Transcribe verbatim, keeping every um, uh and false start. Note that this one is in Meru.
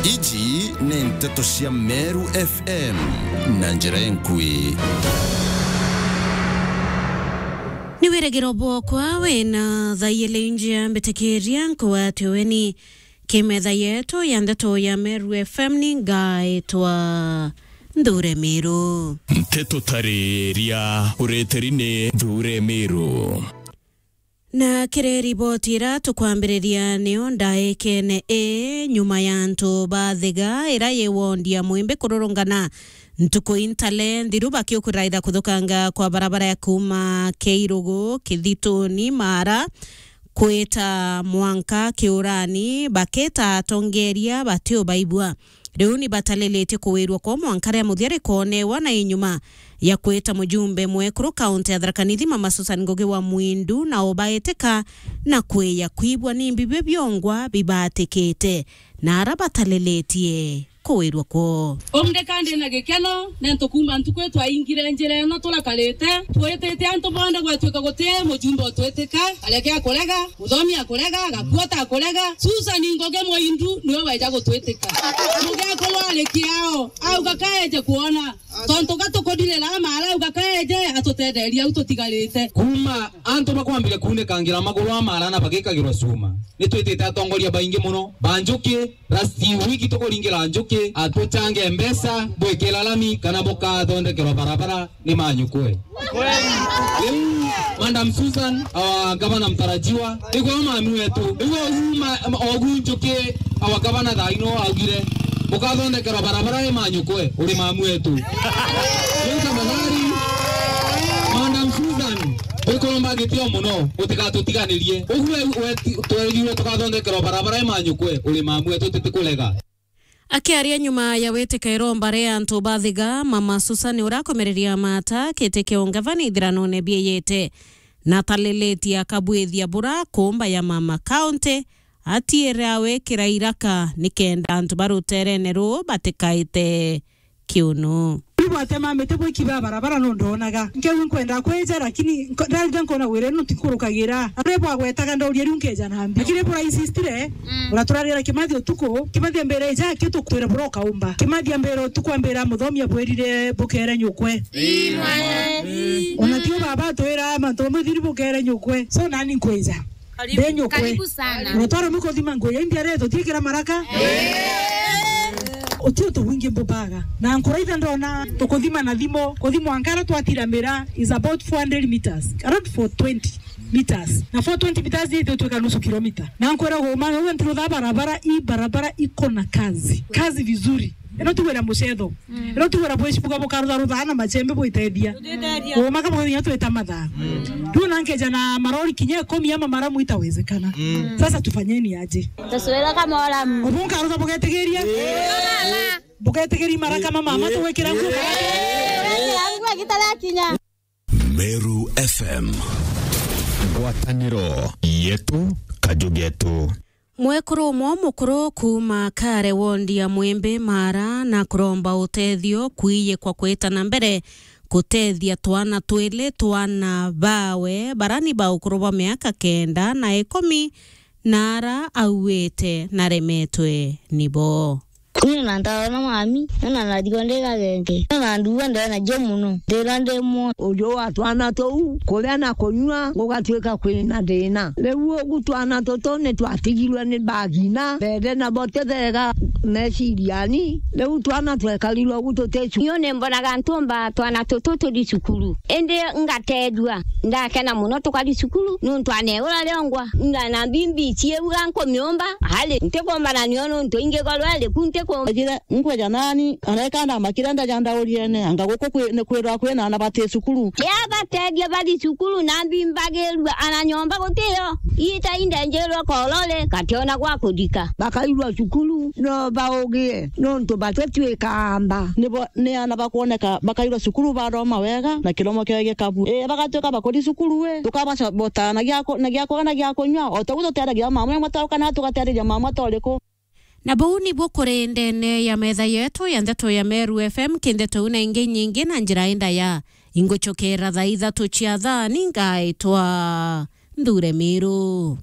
Iji ni nteto cia Meru F M na njira enkui. Ni wirigiro bwokwa wina thaiyele injia mbitikiria nkugwate weni ki metha yetu ya ndeto ya Meru F M ni ngaitwa Nthure Miru. Nteto tariria ureteri ni Nthure Miru. Na kiri riboti ira tukwambiriria niyo ndaikene ii nyuma ya antu ba Thiga ira yi wondi ya Mwimbi kururungana ntuku intale nthiru bakiukuraira kuthukanga kwa barabara ya kuuma Keirugu, Kithituni, Mara, kwita mwanka Kiurani, baketa atongeria batiubaigua. Riu ni batalilitie kuwirua kwa mwanka ria muthia rikonewa na inyuma ya kwita mujumbe mwekuru kaunti ya Tharaka Nithi Mama Susan Ngugi wa Mwindu na ubaitika na kwiya kwibua ni mbi bibio biongwa bibatikite na ara batalilitie kuwirua kwoo. Umrika ndi na gikeno, nontu kuuma ntuku twaingire njira ino turakarite, twitite antu bonthe gwatuika guti mujumbe utwitika, areke akurega, muthomi akurega, gakuota akurega, Susan Ngugi Mwindu niwe weja gutwitika. Mugekuru ari kiao, auga kaeje kwona, tontu ga tukuthirira Mara, auga kaeje atutetherie au tutigarite. Kuuma antu bakwambire kuunikangira maguru a Mara na bagikagirwa cuma, ni twitite atongoria baingi muno ba njuki. Last week tukuringira njuki, atuchange mbeca, bwikira lami kana bukathondekerwa barabara ni manyukwe. Riu, Madam Susan, our governor mtarajiwa, nigwe mami wetu. Riu ogu ma-, ogu njuki, our governor thaa ino augire, bukathondekerwa barabara ni manyukwe, uri mami wetu. Riu tafadhali, Madam Susan, twikuromba gitio muno, utigatutigani-, rie. Ugu we, we, ti-, twerirwe tukathondekerwa barabara i manyukwe, uri mamu wetu, tutikurega. Akiaria nyuma ya witika iromba ria antu ba Thiga, Mama Susan urakomereria mata kiti kia ungavana ithiranone bieyete, na talilitie akabwithia bura kumba ya Mama County, atiire awikira iraka nikenda antu ba ruterene ruu batikaite kiuno. Riu bwatema miti bwikiba barabara no ndonaga. Nkeu nkwenda kwija, lakini nko-, ndarija nkona wira ino ntinkurukagira. Ari bwagwetaga ndauria riu nkeja na mbi. Lakini bura insistire, mm, uraturagira Kimathi utuku, Kimathi ambira ija, kitu twire bura ukaumba. Kimathi ambira utuku, ambira muthomi abwirire bukere nyukwe. Ii, mwana. Ona tio baba atwira mantu mamwe thiri bukere nyukwe. So nani nkwija. Karibu. Ndenyukwe. Karibu sana. Unatwara miko thima nguo ya India reto, tiekera maraka? Eh. Utio tu wingi mbubaga. Na nkuraitha ndona tukuthima na thimo, kuthimwa nkara twatiramira is about four hundred meters. Around four twenty meters. Na four twenty meters ni itutwika nusu kilomita. Na nkwira guma, wewe ntirutha barabara, i barabara iko na kazi. Kazi vizuri. Ino ti wira mucetho. Mm. Ino ti wira bwicibuga bukarutharutha na machembe bwitethia. Bwitethia. Uuma ka bwithia twita mathaa. Mm. Riu na nkeja na marori kinya ikumi ama maramu itawezekana. Mm. Sasa tufanyeni aje? Taswira kama wala m- Ubu nkarutha bugetigiria? Eh. Bugetigiria maraka ma mama tugwikira nguo? Eh. Nguo gitara kinya. Meru F M. Ngwataniro yetu, kaju getu. Mwekuru umwe mukuru kuuma Kare wondi ya Mwimbi Mara na kuromba utethio kwiye kwa kwita na mbere kutethia twana twili twana bawe bara ni ba ukuru bwa miaka kenda na ikumi na ara auite na remetwe nibo. Kwina na ntaona mami, na na nathigwa ndi gagenge, na na nduga ndena jo muno, ndira ndi mwo. Uju wa twana tuu, kuria na kunyua gugatuika kwina thina. Riu ugu twana tutu ni twatigirwe ni bagina, mbere na botethega meciriani. Riu twana twekarirwe ugu tuticu. Nio ni mbonaga ntumba twana tutu tuthi cukuru. Indi ngatethua, ndakena muno tukathi cukuru, nuntu aneura riongwa, na, na mbimbi cieuga nkumiumba, ari, ntikumbana nio nuntu ingikorwa iri ku ntiku- Ajire, nkweja nani, areka ndamakire ndaja ndauriene, anga guku kwi-, ni kwirwa kwina ana bati cukuru. Ria batethia bathi cukuru na mbimbagirua ana nyomba gutio, ita indenjirwe korore, gationa gwa kuthika. Bakairwa cukuru, no baugie, nuntu batitwika amba. Nibo, ni ana bakwoneka bakairwa cukuru, bathoma wega, na kiromo kiao gikabu. Ii, bagatuika bakuthi cukuru, ii, tukabaca bota na gia ku-, na gia kurya na gia kunyua, o ta uguo tuteethagia mama umwe tau kana tugateethia mama ta uriku. Na buu nibuo kuri ndene ya metha yetu ya ndeto ya Meru F M, ki ndeto iu na ingi nyingi na njira indaya. Ingucokera thaa ithatu cia thaa, ni ngaitwa Nthure Miru.